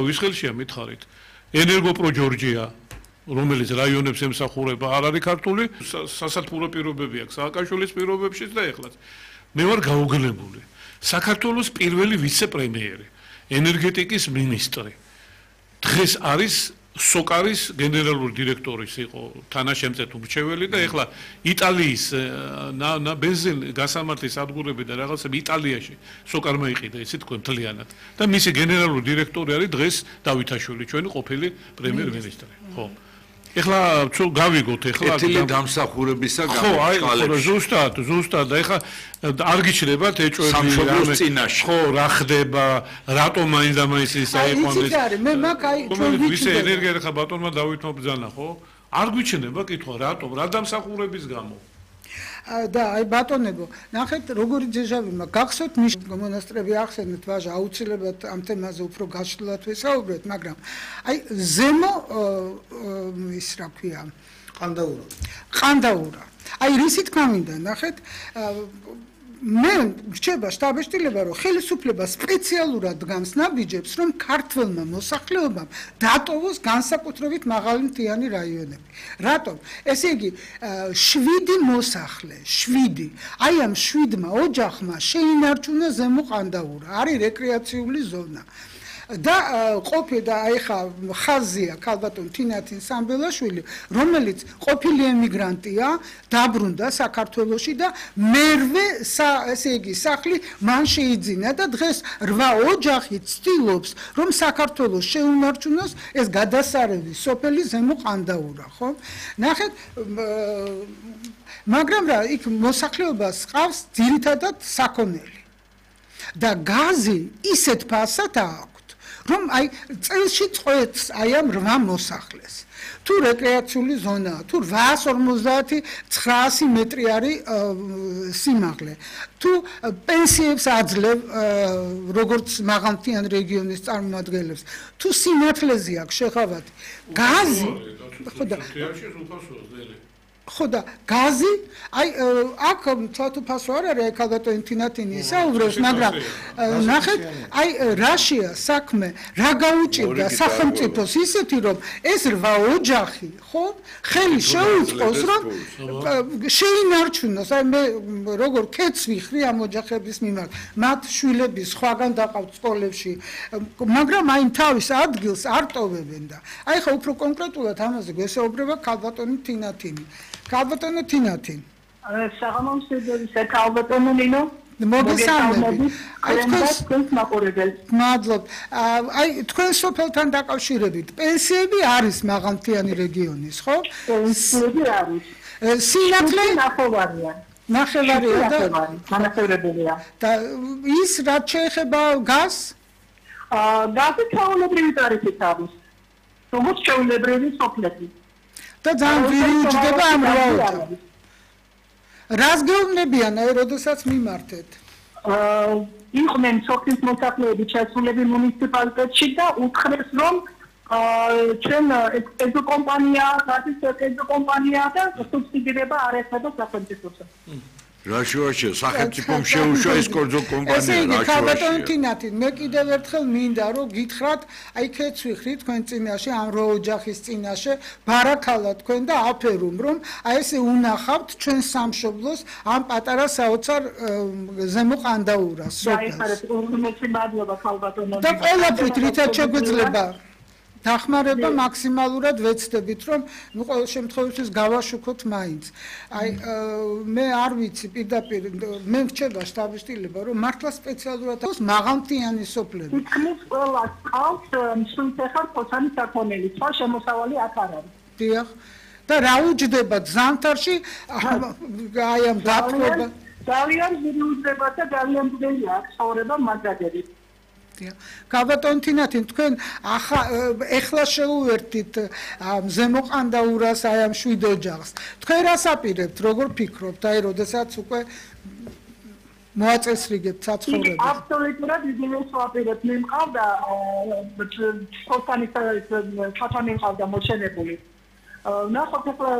ვის ხელშია მითხარით? ენერგოპრო ჯორჯია, რომელიც რაიონებს ემსახურება, არ არის ქართული, სასათბურო პირობები აქვს სააკაშვილის პირობებშიც და ეხლაც. მე ვარ გაუგლებული. საქართველოს პირველი ვიცე-პრემიერი, ენერგეტიკის მინისტრი. დღეს არის სოკარის გენერალური დირექტორის იყო თანაშემწე მრჩეველი და ეხლა იტალიის ბენზინ გასამართლის სადგურები და რაღაცები იტალიაში სოკარმა იყიდა ისე თქვენ მთლიანად და მისი გენერალური დირექტორი არის დღეს დავითაშვილი ჩვენი ყოფილი პრემიერ-მინისტრი ხო ეხლა გავიგოთ ეხლა ეთილი დამსახურებისა ხო აი ზუსტად და ეხლა არ გიჩნდებათ ეჭვები ხო რა ხდება რატომ მაინც და მაინც ის აიყვანეს მე მაგ აი ჩვენ ვიცი ენერგია ხა ბატონმა დავითმა ბრძანა ხო არ გვიჩნდება კითხვა რატომ რა დამსახურების გამო და აი ბატონებო ნახეთ როგორი ძეჟავიმა გახსოვთ მონასტრები ახსენეთ ვაჟა აუცილებლად ამ თემაზე უფრო გაშლილად ვესაუბრეთ მაგრამ აი ზემო ის რა ქვია ყანდაურა აი რისი თქმა მინდა ნახეთ მე რჩება შტაბ-ეშტილება რომ ხელისუფლება სპეციალურად დგამს ნაბიჯებს რომ ქართველმა მოსახლეობამ დატოვოს განსაკუთრებით მაღალი მთიანი რაიონები. რატომ? ესე იგი 7 მოსახლე, 7. აი ამ 7-მა ოჯახმა შეინარჩუნა ზემო ყანდაურა. არის რეკრეაციული ზონა. და ყოფილი ეხა ხაზია ქალბატონ თინათინ სამბელაშვილი რომელიც ყოფილი ემიგრანტია დაბრუნდა საქართველოში და მერვე ესე იგი სახლი მან შეიძინა და დღეს 8 ოჯახი ცდილობს რომ საქართველოს შეუნარჩუნოს ეს გადასარევი სოფელი ზემო ყანდაურა ხო ნახეთ მაგრამ რა იქ მოსახლეობას ყავს ძირითადად საქონელი და გაზი ისეთ ფასად აქვს რომ აი წელში წყვეტს აი ამ 8 მოსახლეს. თუ რეკრეაციული ზონაა, თუ 850-900 მეტრი არის სიმაღლე. თუ პენსიებს აძლევ როგორც მაღალმთიან რეგიონის წარმომადგენლებს, თუ სინათლეზე აქვს შეხავათი. გაზი ხო და გაზი აი აქ თვალთუფასო არ არის ქალბატონი თინათინი ისაუბრებს მაგრამ ნახეთ აი რაშია საქმე რა გაუჭირდა სახელმწიფოს ისეთი რომ ეს 8 ოჯახი ხო ხელი შეუწყოს რომ შეინარჩუნოს აი მე როგორ კეთს ვიხრი ამ ოჯახების მიმართ მათ შვილები სხვაგან დაყავთ სკოლებში მაგრამ აი თავის ადგილს არ ტოვებენ და აი ხა უფრო კონკრეტულად ამაზე გვესაუბრება ქალბატონი თინათინი ქალბატონო თინათინ საღამომსედელისა ქალბატონო ნინო მოგესალმები აი თქვენ მაყურებელს მადლობ აი თქვენ სოფელთან დაკავშირებით პენსიები არის მაღალმთიანი რეგიონის ხო პენსიები არის სინათლე ნახევარია და განახევრებელია და ის რაც შეეხება გაზს გაზი ჩაოლებრივი ტარიფით არის როგორც ჩაოლებრივი სოფლები და ძალიან ძვირი უჯდება ამ რაოდენობით. რას გეუბნებიან აი როდესაც მიმართეთ? იყვნენ სოფლის მოსახლეები ჩასულები მუნიციპალიტეტში და უთხრეს რომ ჩვენ ეზო კომპანია, გაზის ეზო კომპანია და სუბსიდირება არ ეხება სახელმწიფოს. რაშუაშია სახელმწიფომ შეუშვა ეს კერძო კომპანია ესე იგი ქალბატონი თინათინ მე კიდევ ერთხელ მინდა რომ გითხრათ აი ქეთს ვიხრი თქვენ წინაშე ამ 8 ოჯახის წინაშე ბარაქალა თქვენ და აფერუმ რომ აი ესე უნახავთ ჩვენ სამშობლოს ამ პატარა საოცარ ზემო ყანდაურას და ყველაფრით რითაც შეგვიძლება დახმარება მაქსიმალურად ვეცდებით რომ ნუ ყოველ შემთხვევაში გავაშუქოთ მაინც. აი მე არ ვიცი პირდაპირ მე მრჩება შტაბ-ეშტილება რომ მართლა სპეციალურად აქვს მაღალმთიანი სოფლები. თითქმის ყველა ყავს სულთეხარ ფოთანის საქონელი, სხვა შემოსავალი აქ არ არის. დიახ. და რა უჯდება ზამთარში აი ამ დათმობა ძალიან ძლიერი უჯდება და ძალიან ძლიერი აქვს ცხოვრება მაგადებით. ქალბატონი თინათინ თქვენ ეხლა შეუერთით ზემო ყანდაურას აი ამ 7 ოჯახს თქვენ რას აპირებთ როგორ ფიქრობთ აი როდესაც უკვე მოაწესრიგებთ საცხოვრებას აბსოლუტურად იგივეს ვაპირებთ მე მყავდა ფოთანი მყავდა მოჩენებული ნახოთ ახლა